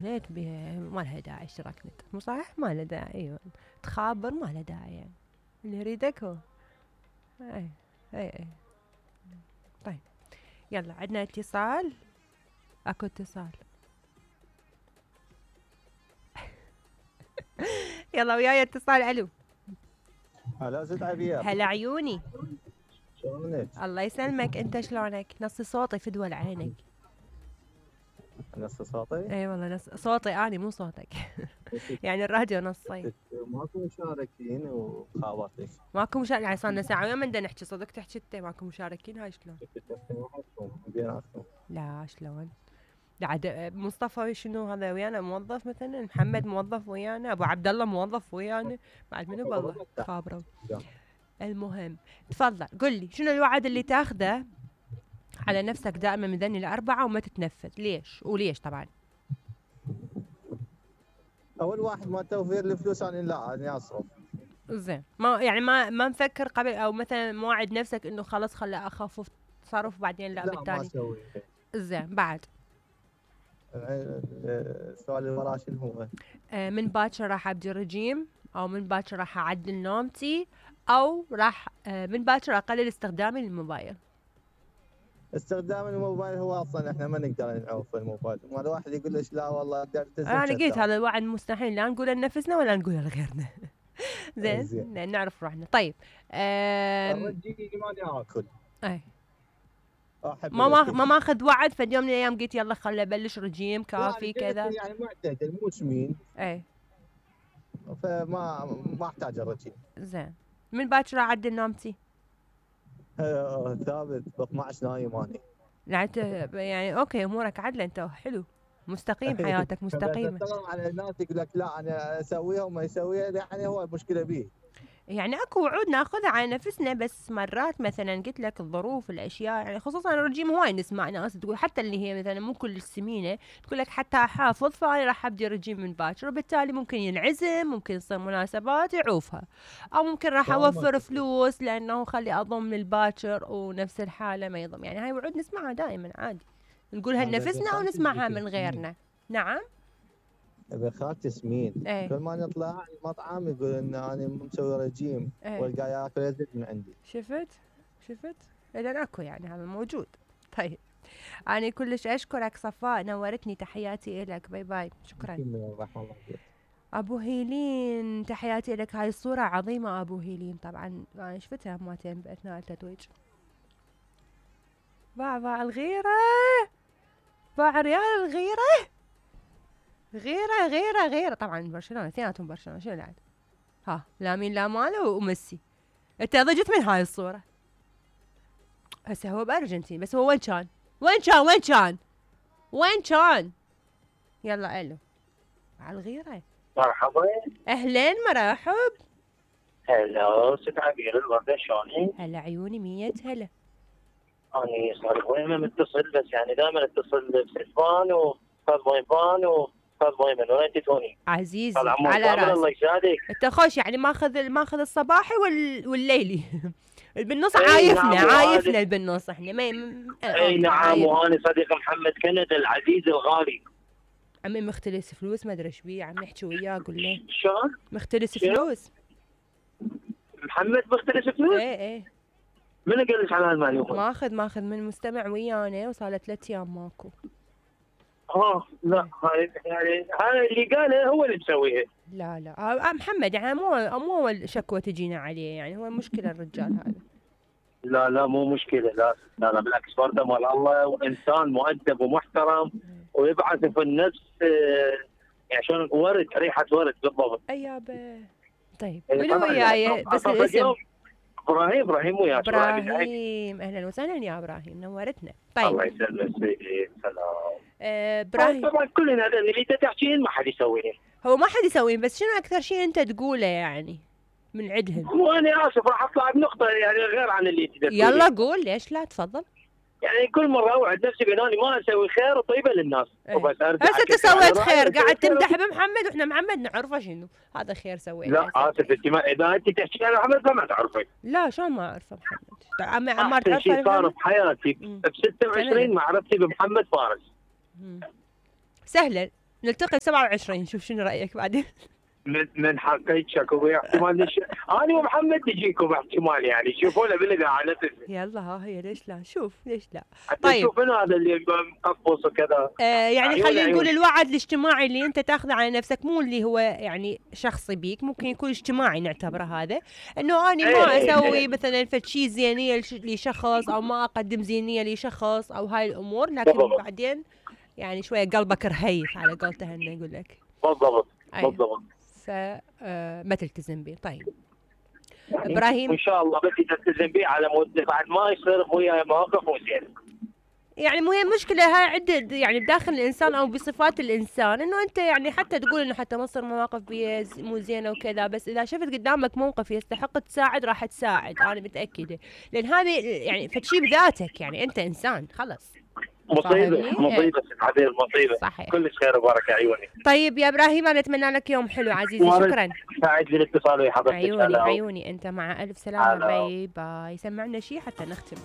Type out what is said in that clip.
نت ما لها داعي اشتراك نت، مو صح؟ ما له داعي. ايوه تخابر ما له داعي يعني. اللي يريدك هو. اي اي. طيب يلا عندنا اتصال. اكو اتصال. يلا وياي اتصال. الو. هلا ست عبير. هلا عيوني. شلونك؟ الله يسلمك، انت شلونك؟ نص صوتي فدوى لعينك. نص صوتي؟ اي والله نص صوتي اني مو صوتك. يعني الراديو نصي. ماكو مشاركين وخابرتك. ماكو مشاركين يعني صار لنا ساعة ويوم بدنا نحكي صدق تحكي انت ماكو مشاركين. هاي شلون؟ بيناتكم. لا شلون؟ عاد مصطفى شنو هذا ويانا موظف مثلا، محمد موظف ويانا، ابو عبد الله موظف ويانا، بعد منو بالله خابره. المهم تفضل قل لي شنو الوعد اللي تاخذه على نفسك دائما من ذني الأربعة وما تتنفذ؟ ليش وليش طبعا؟ اول واحد ما توفير الفلوس اني اصرف. زين ما يعني ما نفكر قبل او مثلا موعد نفسك انه خلاص خلي اخفف تصرف بعدين لا بالتالي؟ ما اسوي. زين بعد السؤال اللي وراه شنو هو؟ من باكر راح ابدي رجيم، او من باكر راح اعدل نومتي، او راح من باكر اقلل استخدامي للموبايل. استخدام الموبايل هو اصلا احنا ما نقدر نعوف الموبايل، ما الواحد يقول ليش لا والله اقدر التزم. انا قلت هذا الوعد مستحيل لا نقوله لنفسنا ولا نقوله لغيرنا. زين نعرف روحنا. طيب الرجيم ماني اكل. اي ما ماخذ وعد فد يوم من الايام قلت يلا خلي ابلش رجيم كافي كذا يعني معتدل مو سمين. اي فما احتاج الرجيم. زين من باكر اعدل نومتي. ثابت ب 12 نايم اني. يعني اوكي امورك عدله انت حلو مستقيم حياتك مستقيمه. على الناس يقول لك لا انا اسويها وما يسويها، يعني هو المشكله بيه. يعني اكو وعود ناخذها على نفسنا بس مرات مثلا قلت لك الظروف الاشياء يعني خصوصا الرجيم هواي نسمع ناس تقول حتى اللي هي مثلا مو كل السمينه تقول لك حتى احافظ فانا راح ابدي رجيم من باكر وبالتالي ممكن ينعزم ممكن يصير مناسبات يعوفها او ممكن راح اوفر فلوس لانه خلي اضم من الباكر ونفس الحاله ما يضم. يعني هاي وعود نسمعها دائما عادي نقولها لنفسنا او نسمعها من غيرنا. نعم ابن خالتي سمين. كل ما نطلع المطعم يقول ان انا مسوي رجيم والقى ياكل يزيد من عندي. شفت اذا اكو يعني هذا موجود. طيب انا كلش اشكرك صفاء نورتني تحياتي لك باي باي شكرا. ابو هيلين تحياتي لك هاي الصوره عظيمه ابو هيلين طبعا انا شفتها مرتين باثناء التتويج. باع الغيره باع ريال الغيره غيره طبعا برشلونه اثنيناتهم برشلونه شنو العاد ها لامين لامال وميسي. انت ضجت من هاي الصوره هسه هو بارجنتين بس هو وين كان يلا الو على الغيره. مرحبا اهلين مرحب. هلا ست عبير الوردة شلونك؟ هلا عيوني 100 هلا. اني صار وين ما متصل بس يعني دائما اتصل بسلفان وستاذ بوينبان وستاذ بويمن وين انت توني؟ عزيزي على راسي الله يسعدك. انت خوش يعني ماخذ الصباحي والليلي. بالنص عايفنا بالنص احنا ما اي نعم. وانا صديق محمد كند العزيز الغالي. عمي مختلس فلوس ما ادري ايش بيه عم نحكي وياه قول له شلون؟ مختلس فلوس. محمد مختلس فلوس؟ ايه من قال لك على هالمعلومه؟ ماخذ من مستمع ويانا وصار له 3 ايام ماكو. لا هاي يعني هاي اللي قاله هو اللي مسويها. لا محمد يعني مو اول شكوى تجينا عليه يعني هو مشكله الرجال هذا. لا مو مشكله لا بالعكس فرده مال الله وانسان مؤدب ومحترم ويبعث في النفس يعني شلون ورد ريحه ورد بالضبط. ايابه طيب منو وياي بس الاسم؟ ابراهيم وياك. ابراهيم اهلا وسهلا يا ابراهيم نورتنا. طيب الله يسلمك سيدي سلام. ابراهيم طبعا كلنا هذا اللي تحكين ما حد يسويه. هو ما حد يسويه بس شنو اكثر شيء انت تقوله يعني من عندهم؟ وانا اسف راح اطلع بنقطه يعني غير عن اللي تقول. يلا قول ليش لا تفضل. يعني كل مره اوعد نفسي باني ما اسوي خير وطيبه للناس وبس ارجع. هسه انت سويت خير قاعد تمدح بمحمد واحنا محمد نعرفه شنو هذا خير سويته. لا اسف انت اذا انت تحكي عن محمد فما تعرفي. لا شلون ما اعرفه محمد؟ عمار تعرفه شيء صار بحياتي ب 26 معرفتي بمحمد فارس. سهله نلتقي 27 شوف شنو رايك بعدين. من حقيقة اكو احتمال انا ومحمد نجيكم احتمال يعني شوفونا بالاذاعه نفسها. يلا ها هي ليش لا شوف ليش لا. طيب شوف من هذا اللي مقفص وكذا. يعني خلينا نقول الوعد الاجتماعي اللي انت تاخذه على نفسك مو اللي هو يعني شخصي بيك، ممكن يكون اجتماعي نعتبره هذا، انه اني ما اسوي مثلا فشي زينيه لشخص او ما اقدم زينيه لشخص او هاي الامور، لكن بعدين يعني شويه قلبك رهيف على قولته هنا يقول لك. بالضبط. بالضبط. ما تلتزم به. طيب ابراهيم ان شاء الله بدي تلتزم به على مود بعد ما يصير وياي مواقف مو زين. يعني مو هي مشكله هاي عده يعني بداخل الانسان او بصفات الانسان، انه انت يعني حتى تقول انه حتى ما تصير مواقف مو زينه وكذا، بس اذا شفت قدامك موقف يستحق تساعد راح تساعد، انا متاكده، لان هذه يعني فتشي بذاتك، يعني انت انسان خلص. مصيبه عبير مصيبه. صحيح. كلش خير وبركه عيوني. طيب يا ابراهيم انا اتمنى لك يوم حلو عزيزي. شكرا. سعيد بالاتصال ويا حضرتك. عيوني عيوني انت مع الف سلامه. باي باي. سمعنا شيء حتى نختم.